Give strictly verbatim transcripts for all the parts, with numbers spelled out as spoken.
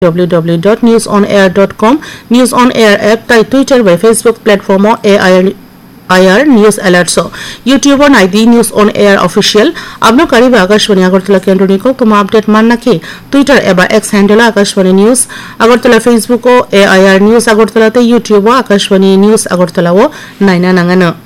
w w w dot news on air dot com, News on Air app tai Twitter bai Facebook platform o A I R News Alerts o. YouTube o nai di News on Air Official. Abno kariba Akashbani Agartala kendroni koktoma update manna khe Twitter eba X handle o Akashbani News Agartala, Facebook o A I R News Agartala tei YouTube o Akashbani News Agartala o naina nangano.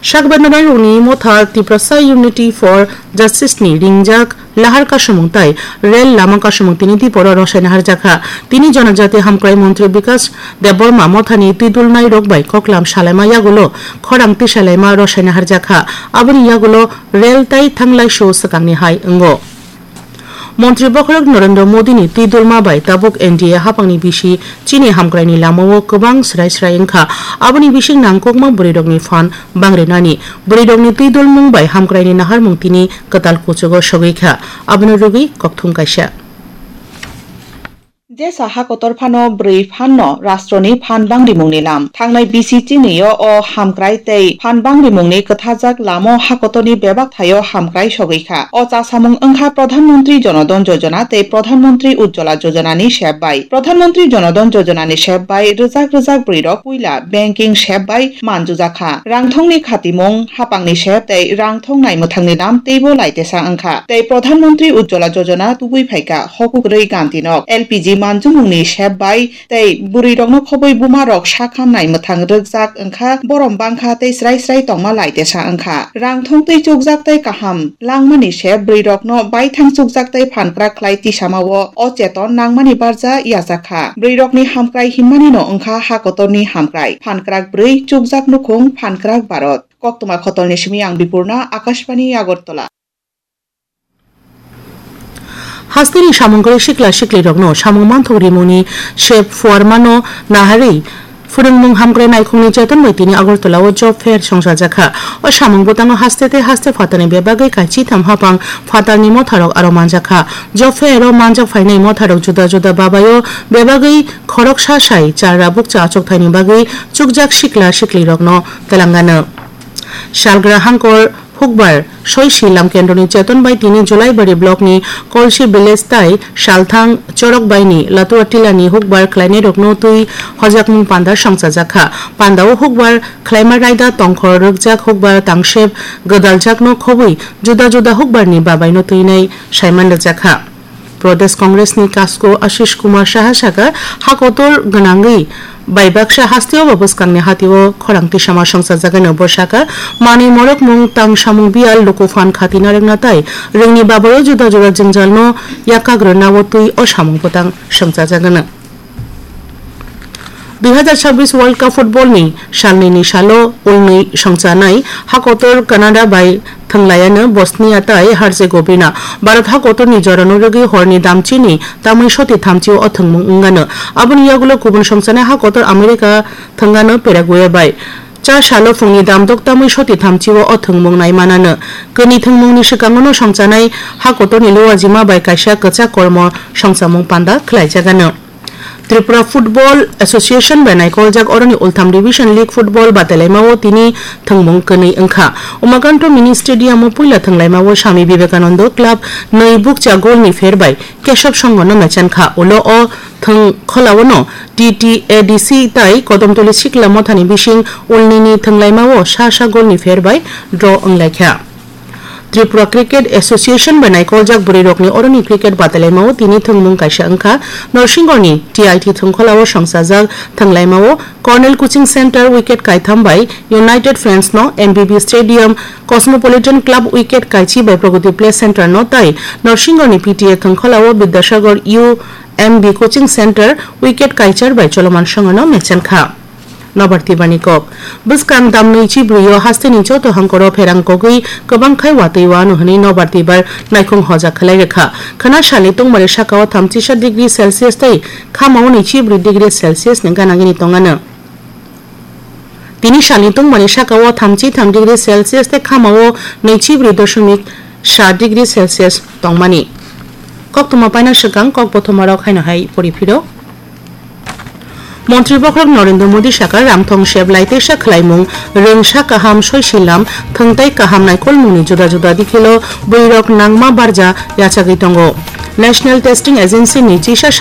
Sakbendonai rokni motha Tiprasa Unity for Justice ni ringjak lahar kasumung tai rel lama kasumung tini Diporo rosaina harjakha. Tini Jonojati Hamkrai Montri Bikas Debbarma mothani twidulnai rok bai koklam salaima yagulo khorang tisalaima rosaina harjakha. Aboni yagulo rel tai thanglaisu swkangni hai wngo. Montri bokhorok Narendra Modini twidulma bai tabuk N D A haphangni bisi chini hamkraini lamao kwbang srai srai wngkha. Aboni bising nangkukma bwrwirokni phan bangrinani, bwrwirokni twidulmung bai hamkraini naharmung tini kwtal kuchugo sogwi kha. Abono rwgwi kokthum kaisa. Jesa hakotor phano bwrwi phanno rastroni phan bangrimungni lam. Thangnai bisi chinio o hamkrai tei phan bangrimungni kwthajak lamo hakotorni bebak thaio hamkrai sogwi kha. O chasamung wngkha Pradhan Mantri Jan Dhan Yojana tei Pradhan Mantri Ujjwala Yojana ni sep bai. Pradhan Mantri Jan Dhan Yojana ni sep bai rwjak rwjak bwrwirok puila banking sep bai manjujak kha. Rangthongni khatimung, hapangni sep tei rangthong naimwthangni lam teibo laitesa wngkha. Tei Pradhan Mantri Ujjwala Yojana tubui phaikha hokuk rwi ganti nok. L P G manjumungni sep bai tei bwrwirokno khobwi bumarok sakham naimwthang rwkjak wngkha, borom bangkha tei srai srai tongma laitesa wngkha. Rangthong twi chukjak tei kaham langmani sep bwrwirokno baithang chukjak tei phankrak khlai tisamao o cheton nangmani barja yajakha. Bwrwirokni hamkrai hinmanino wngkha hakotorni hamkrai. Phankrak bwrwi, chukjak nukhung, phankrak Bharat. Koktwma khotolni simi ang Bipurna, Akashbani, Agartala. Hasteni samung kwrwi sikla siklirokno samung manthok rimungni sep phuarmano naharwi phwrwngmung hamkrai naikhungni cheton bai tini Agartala o job fair songchajakha. O samung bwtango haste tei haste phatarni bebagwi kaichitham hapang phatarni motharok aro manjakha. Job fair o manjak phainai motharok juda juda babaio bebagwi khoroksa sai chara bukcha achukthai ni bagwi chukjak sikla siklirokno twlangano. Salgra hangkor hukbar soisi lam kendroni cheton bai tini Julaibari block ni Kolsi village tai Salthang chorok bai ni Latua tila ni hukbar khlainai rokno twi hojakmung panda songchajakha. Panda o hukbar khlaima raida tongkhor rwkjak hukbar tangsep gwdaljakno khobwi juda juda hukbar ni babai no twinai saiman rwjakha. Pradesh Congress ni Kasko Ashish Kumar Saha saka, ha kotor gwnangwi bai baksa hasteo bo bwskangni hatio khorang tisama songchajagano. Bo saka, manwi morokmung, tang samung biyal, luku phan khati narwkna tai rwngni babayo juda juda jwngjalno yakak rwna o twi o samung bwtang songchajagano. Dui hazar chabbish World Cup football ni salnwi ni salo ulnwi songchanai ha kotor Canada bai thwnglaiano Bosnia tai Herzegovina. Bharat ha kotor ni jorano rwgwi horni damchini tamwi soti thamchi o thwngmung wngano. Aboni yagulo kubun songchanai ha kotor America thwngano Paraguay bai. Cha salo phungni damdok tamwi soti thamchi o thwngmung nai manano. Kwnwi thwngmungni swkango no songchanai ha kotorni luajima bai kaisa kwchak kormo songchamung panda khlaijagano. Tripura Football Association bai naikoljak oroni Ultham Division League Football batailaimao tini thwngmung kwnwi wngkha. Umakanto Mini Stadium o puila thwnglaimao Swami Vivekananda Club nwi bukcha goal ni pher bai Kesab Songho no mechankha. Ulo o thwng kholao no T T A D C tai Kodomtoli Sikla Mothani bising ulnini thwnglaimao sa sa goal ni pher bai draw wnglaikha. Tripura Cricket Association bai naikoljak bwrwirokni oroni cricket batailaimao tini thwngmung kaisa wngkha. Norsingorni T I T thwngkholao songchajak thwnglaimao Cornell Coaching Centre wicket kaitham bai United Friends no M B B Stadium Cosmopolitan Club wicket kaichi bai Pragati Play Centre no tai Norsingorni P T A thwngkholao Bidyasagar U M B Coaching Centre wicket kaichar bai Choloman Songho no mechankha. Nobar Tibar ni kok. Bwskang dam nwichi brwi o hasteni joto hangkoro pherang kogwi kwbang khai watwi wano hwnwi Nobar Tibar naikhung hoja khlai rwkha. Khwna salni tungmani sakao thamchisa degree Celsius tei khamao nwichi brwi degree Celsius ni gana gini tongano. Tini salni tungmani sakao thamchi tham degree Celsius tei khamao nwichi brwi doshomik sa degree Celsius tongmani. Koktwma paina swkang kok bothomarok haino hai pori phiro. Montri bokhorok Narendra Modi saka, ramthong sep lai teisa khlaimung, rwngsa kaham, soisilam, thwngtai kaham naikolmungni juda juda dikhilo bwrwirok nangma barja yachagwi tongo. National Testing Agency ni chisa